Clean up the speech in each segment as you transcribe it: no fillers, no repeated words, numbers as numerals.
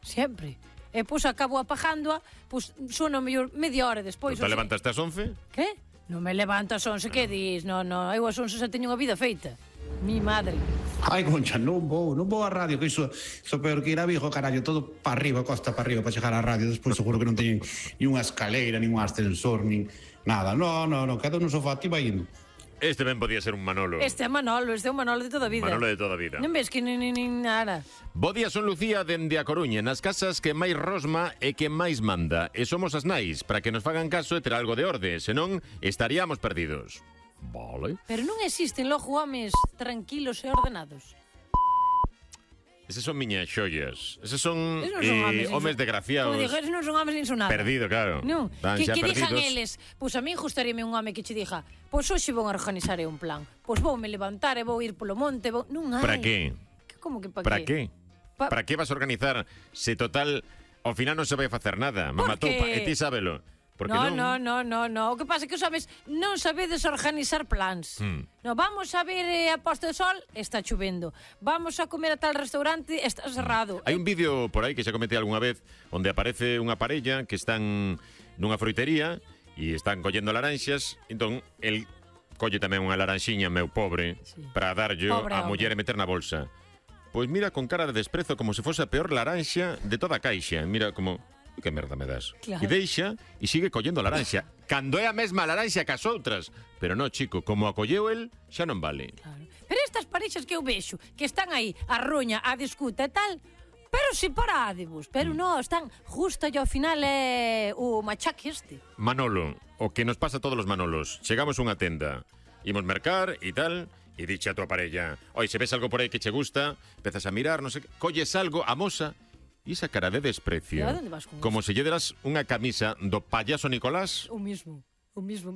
Sempre. E pois acabo apagándoa, pois sono mellor media hora despois. Te levantaste ás 11? Que? Non me levanto ás 11, que dis? Non, eu ás 11 xa teño unha vida feita. Mi madre. Ai, Concha, non vou á radio, que iso peor que ir a Vigo, carallo, todo para arriba, costa para arriba, para chegar á radio, despois seguro que non teñen ni unha escaleira, ni un ascensor, nin nada. No, quedo no sofá, ti vai indo. Este ben podía ser un Manolo. Este é Manolo de toda a vida. Manolo de toda a vida. Non ves que nin nada. Bo día, son Lucía dende a Coruña. Nas casas que máis rosma e que máis manda. E somos as nais, para que nos fagan caso e ter algo de orde. Senón, estaríamos perdidos. Vale. Pero non existen logo homes tranquilos e ordenados. Eses son miñas xollas. Eses son homes desgraciados. Como digo, eses non son homes nin son nada. Perdido, claro. Non, que dixan eles, pois a min gustaríame un home que che dixa, pois hoxe vou a organizar un plan. Pois voume levantar e vou ir polo monte, non hai. Para que? Como que para que? Para que vas a organizar se total ao final non se vai facer nada? Mamatoupa, e ti sábelo. No. O que pasa é que os homes non sabedes organizar plans. No, vamos a ver a posta de sol, está chovendo. Vamos a comer a tal restaurante, está cerrado. Hai un vídeo por aí que xa comentei algunha vez onde aparece unha parella que están nunha fruitería e están collendo laranxas. Entón, el colle tamén unha laranxiña, meu pobre, para darlle a muller e meter na bolsa. Pois mira con cara de desprezo como se fose a peor laranxa de toda a caixa. Mira como... que merda me das? Claro. E deixa e sigue collendo a laranxa. Cando é a mesma laranxa que as outras. Pero non, chico, como a colleu el, xa non vale. Claro. Pero estas parexas que eu vexo, que están aí a roña, a discuta e tal, pero separádevos. Pero non, están justo e ao final é o machaque este. Manolo, o que nos pasa a todos os Manolos. Chegamos a unha tenda, imos mercar e tal, e dixe a tua parella, oi, se ves algo por aí que che gusta, empezas a mirar, non sei que, colles algo, amosa. E esa cara de desprecio, como se lle deras unha camisa do payaso Nicolás. O mismo.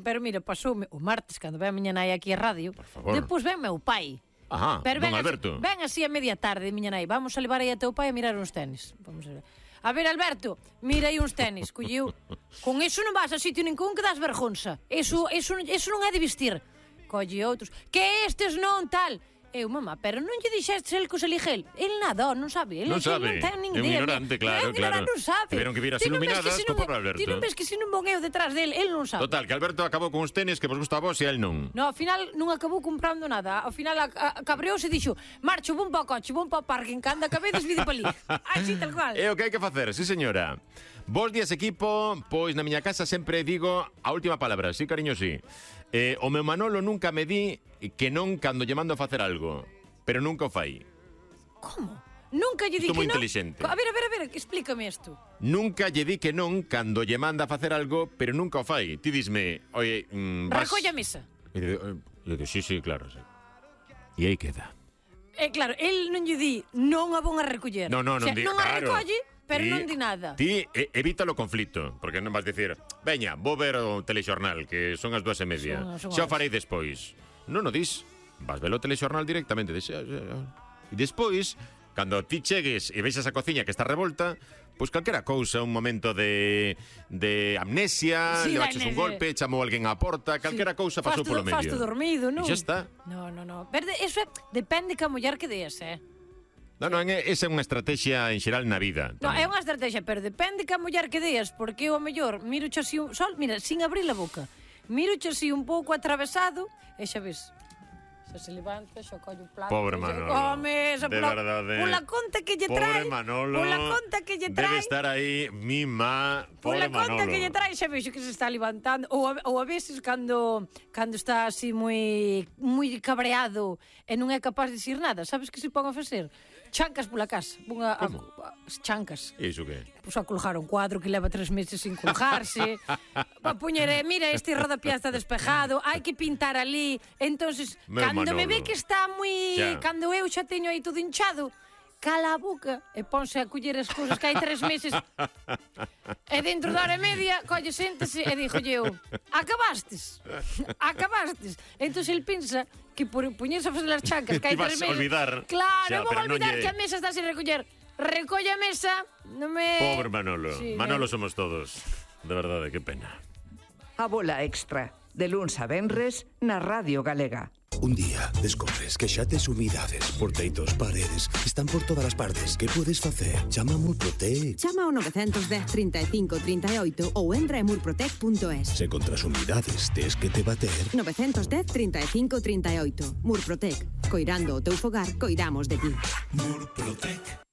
Pero mira, pasoume o martes, cando ven a miña nai aquí a radio, depois ven meu pai. Ajá, don Alberto. Ven así a media tarde, miña nai, vamos a levar aí a teu pai a mirar uns tenis. Vamos a ver. A ver, Alberto, mira aí uns tenis, colleu. Con eso non vas a sitio ningún que das vergonza. Eso non é de vestir. Colle outros. Que estes non tal... Eu, mamá, pero non lle dixestes el que os elige el? El nada, non sabe. Non sabe, ten nin é un idea. ignorante, claro. Non sabe. Tiveron que vir as iluminadas co pobre Alberto. Ti non ves que se non von eu detrás del, el non sabe. Total, que Alberto acabou con uns tenis que vos gusta a vos e el non. No, ao final non acabou comprando nada. Ao final cabreouse e dixo, marcho, vou pa o coche, vou pa o parking, canda cabedes vide pa ali. Así tal cual. É o que hai que facer, sí señora. Bos días, equipo. Pois na miña casa sempre digo a última palabra, sí, cariño, sí. O meu Manolo nunca me di que non cando lle mando a facer algo. Pero nunca o fai. Como? Nunca lle di que non? Moi inteligente. A ver, explícame isto. Nunca lle di que non cando lle manda a facer algo, pero nunca o fai. Ti disme, oye, recolle a mesa. Eu digo, sí, claro, sí. E aí queda. Claro, el non lle di, non a von a recoller. Non di, non a recolle, pero non di nada. Ti evita o conflito, porque non vas dicir, veña, vou ver o telexornal, que son as 2:30. Xa o farei despois. Non o dis. Vas ver o telexornal directamente. E despois, cando ti chegues e veixas a cociña que está revolta, pois calquera cousa, un momento de amnesia, le baches un golpe, chamou alguén á porta, calquera cousa pasou polo medio. Fasto dormido, non? E xa está. No. Pero eso depende que a muller que deas, Non, esa é unha estrategia en xeral na vida. Non, é unha estrategia, pero depende que a muller que deas, porque eu, a mellor, miro xa así mira, sin abrir a boca, miro xa así un pouco atravesado, e xa ves... Se levanta, xa colle o plato. Pobre Manolo. De verdade. Pola conta que lle trae. Pobre Manolo. Pola conta que lle trae. Debe estar aí mima. Pobre Manolo. Pola conta que lle trae, xa vexo que se está levantando. Ou a veces cando está así moi cabreado e non é capaz de dicir nada, sabes que se pon a facer? Chancas pola casa. Chancas. Iso que? Pois a colgar un cuadro que leva 3 meses sin colgarse. A poñer, mira, este rodapié está despejado, hai que pintar ali. Entonces, cando me ve que está moi... Cando eu xa teño aí todo hinchado, cala a boca e ponse a coller as cousas que hai 3 meses. E dentro da hora e media, colle, séntese e dixolle eu, acabastes. Entón, el pensa que por poñerse a fazer as chancas que hai 3 meses... Ti vas olvidar. Claro, vou olvidar que a mesa está sin recoller. Recolle a mesa, non me... Pobre Manolo. Manolo somos todos. De verdade, que pena. A bola extra, de luns a venres, na Radio Galega. Un día descobres que xa tes humidades por teitos, paredes, están por todas as partes. Que podes facer? Chama a Murprotec. Chama ao 910 35 38 ou entra en murprotec.es. Se contra as humidades tes que te bater... 910 35 38. Murprotec. Coirando o teu fogar, coidamos de ti. Murprotec.